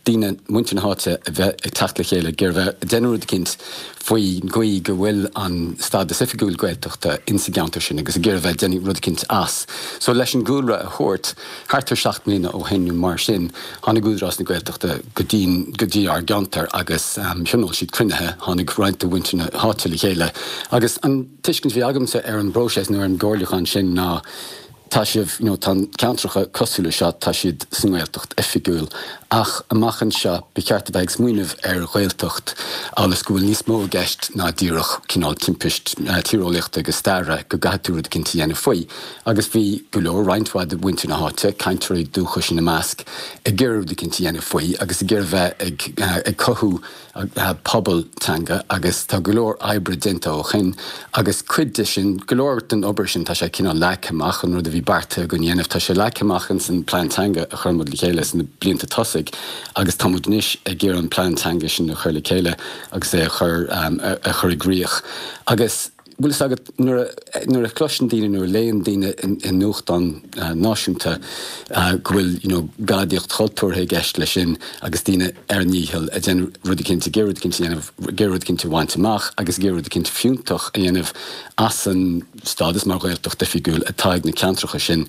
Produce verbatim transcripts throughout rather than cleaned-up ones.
daoine, muintir na háite a bheith ag teacht le chéile ag iarraidh bheith ag déanamh rud eicínt faoin gcaoi go bhfuil an stádas oifigiúil Gaeltachta insa gceantar sin agus ag iarraidh bheith ag déanamh rud eicínt as. So leis an gcúlra a thabhairt, thart ar seacht mbliana ó shin nó mar sin, tháinig Údarás na Gaeltachta go dtí go dtí ár gceantar agus thionóil siad cruinnithe, tháinig roinnt de mhuintir na háite le chéile agus an tuiscint a bhí agamsa ar an bpróiseas nó ar an gcomhairliúchán sin ná tá sibh, you know, tá ceantracha cosúil le seo, tá siad sa nGaeltacht oifigiúil ach amach anseo ba cheart a bheith ag smaoineamh ar Ghaeltacht agus go bhfuil níos mó i gceist ná díreach cineál timpist tíreolaíochta agus staire, go gcaithfidh tú rud eicínt a dhéanamh faoi. Agus bhí go leor, roinnt mhaith de mhuintir na háite, cainteoirí dúchais ina measc, ag iarraidh rud eicínt a dhéanamh faoi agus ag iarraidh bheith ag ag cothú pobal teanga agus tá go leor oibre déanta ó shin agus cuid de sin, go leor den obair sin, tá sé cineál leagtha amach, an rud a bhí beartaithe againn a dhéanamh, tá sé leagtha amach ins an plean teanga a chuir muid le chéile sna blianta tosaigh agus tá muid anois ag iarraidh an plean teanga sin a chur le chéile agus é a chur a chur i gcrích agus bhfuil fhios agat nuair a nuair a chloiseann daoine nuair a léann daoine i nuachtán náisiúnta go bhfuil you know gadaíocht chultúrtha i gceist leis sin agus daoine ar a ndícheall ag déanamh rud eicínt ag iarraidh rud eicínt a dhéanamh ag iarraidh rud eicínt a bhaint amach agus ag iarraidh rud eicínt fiúntach a dhéanamh as an stádas mar Ghaeltacht oifigiúil atá ag na ceantracha sin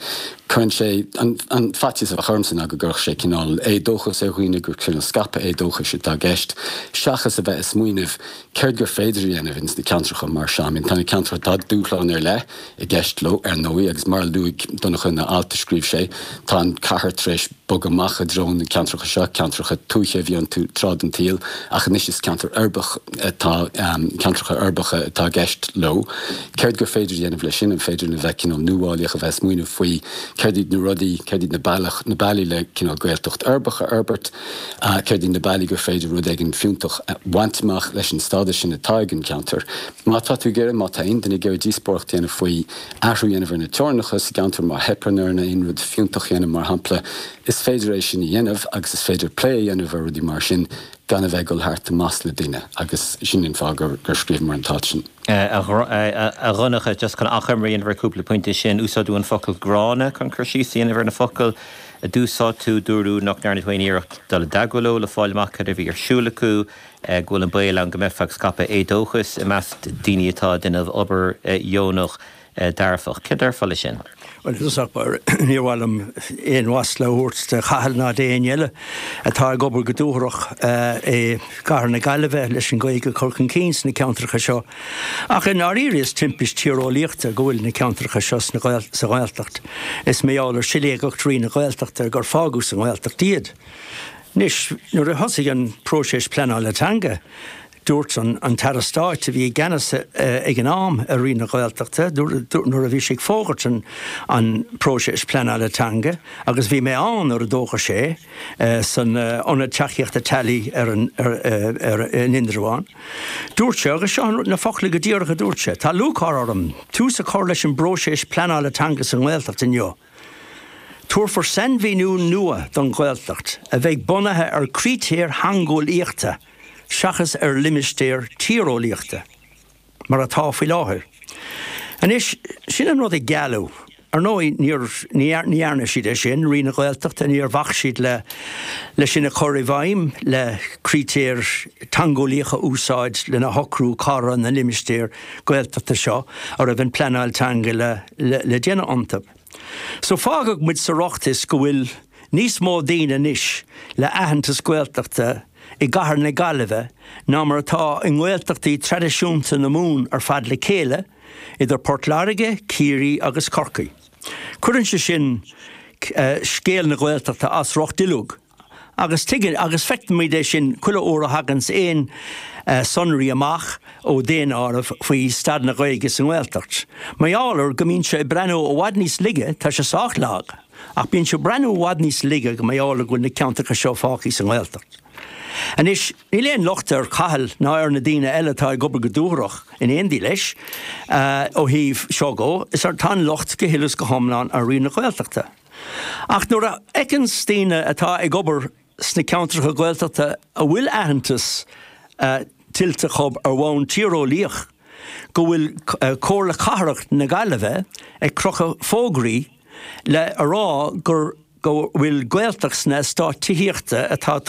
cuireann sé an an faitíos a bheadh ormsa ná go gcuirfeadh sé cineál éadóchas ar dhaoine gur cineál scaipeadh éadóchais atá i gceist seachas a bheith ag smaoineamh céard gur féidir a dhéanamh ins na ceantracha mar seo. I mean, tá na ceantracha, tá dúshláin ar leith i gceist leo, ar ndóigh, agus mar a luaigh Donncha ina alt a scríobh sé, tá an chathair tar éis bogadh amach i dtreo na ceantracha seo, ceantracha tuaithe a bhí iontu tráth den tsaol, ach anois is ceantair uirbeach atá, ceantracha uirbeacha atá i gceist leo. Céard gur féidir a dhéanamh leis sin? An féidir linn a bheith cineál nuálaíoch, a bheith ag smaoineamh faoi céard iad na rudaí, céard iad na bealach, na bealaí le cineál Gaeltacht uirbeach a fhorbairt? Céard iad na bealaí gur féidir rud éigin fiúntach a bhaint amach leis an stádas sin atá ag an gceantar? Má tá tú ag iarraidh, má tá aon duine ag iarraidh díospóireacht a dhéanamh faoi athrú a dhéanamh ar na teorainneacha sa gceantar, má theipeann orainn aon rud fiúntach a dhéanamh, mar shampla, is féidir é sin a dhéanamh agus is féidir plé a dhéanamh ar rudaí mar sin gan a bheith ag dul thart i masla daoine agus sin an fáth gur scríobhamar an t-alt sin. A Dhonncha, just chun achoimre a dhéanamh ar cúpla pointe sin, úsáideadh an focal gránna chun cur síos a dhéanamh ar na focail a d'úsáid tú, dúradh nach ndearna tú aon iarracht dul i dteagmháil leo le fáil amach cad a bhí ar siúl acu, go bhfuil an baol ann go mbeifeá ag scaipeadh éadóchais i measc daoine atá ag déanamh obair dheonach dearfach. Céard a déarfá leis sin? Bhuel, i dtosach báire, níor mhaith liom aon mhasla a thabhairt do Chathal ná d'éinne eile atá ag obair go dúthrach i gcathair na Gaillimhe leis an Ghaeilge a chur chun cinn sna ceantracha seo. Ach i ndáiríre is timpist tíreolaíochta go bhfuil na ceantracha seo sa Ghaeltacht. Is mar gheall ar siléigeacht Roinn na Gaeltachta gur fágadh sa nGaeltacht iad. Anois, nuair a thosaigh an próiseas pleanála teanga, dúirt an tAire Stáit a bhí i gceannas ag an am ar Roinn na Gaeltachta, nuair a bhí sé ag fógairt an próiseas pleanála teanga, agus bhí mé ann nuair a d'fhógair sé san Ionad Tacaíochta Teaghlaigh ar in Indreabhán, dúirt sé, agus seo na focla go díreach a dúirt sé, 'Tá lúcháir orm tús a chur leis an bpróiseas pleanála teanga sa nGaeltacht inniu. Tabharfar sainmhíniú nua don Ghaeltacht a bheidh bunaithe ar chritéir theangeolaíochta seachas ar limistéar tíreolaíochta, mar atá faoi láthair. Anois, sin an rud a gealladh. Ar ndóigh, níor, ní dhearna siad é sin, Roinn na Gaeltachta, níor bhac siad le, le sin a chur i bhfeidhm, le critéir teangeolaíocha a úsáid lena shocrú cá raibh na limistéir Gaeltachta seo a raibh an pleanáil teanga le, le, le déanamh iontu. So fágadh muid sa riocht is go bhfuil níos mó daoine anois le aitheantas Gaeltachta i gcathair na Gaillimhe ná mar atá i nGaeltachtaí traidisiúnta na Mumhan ar fad le chéile, idir Port Láirge, Ciarraí agus Corcaigh. Cuireann sé sin scéal na Gaeltachta as riocht uilig agus tuigeann agus feicimid é sin chuile uair a thaganns aon sonraí amach ó daonáireamh faoi staid na Gaeilge sa nGaeltacht. Mar gheall ar go mbíonn sé ag breathnú i bhfad níos laige, tá sé sách lag, ach bíonn sé ag breathnú i bhfad níos laige go mar gheall ar go bhfuil na ceantracha seo fágtha sa nGaeltacht. Anois, níl aon locht ar Chathal ná ar na daoine eile atá ag obair go dúthrach in éindí leis ó thaobh seo dhó, is ar tá an locht go huile is go hiomlán ar Roinn na Gaeltachta. Ach nuair a fheiceanns daoine atá ag obair sna ceantracha Gaeltachta a bhfuil aitheantas tuillte acu ar bhonn tíreolaíoch go bhfuil Comhairle Cathrach na Gaillimhe ag crochadh fógraí le a rá gur go bhfuil Gaeltacht sna eastáit tithíochta atá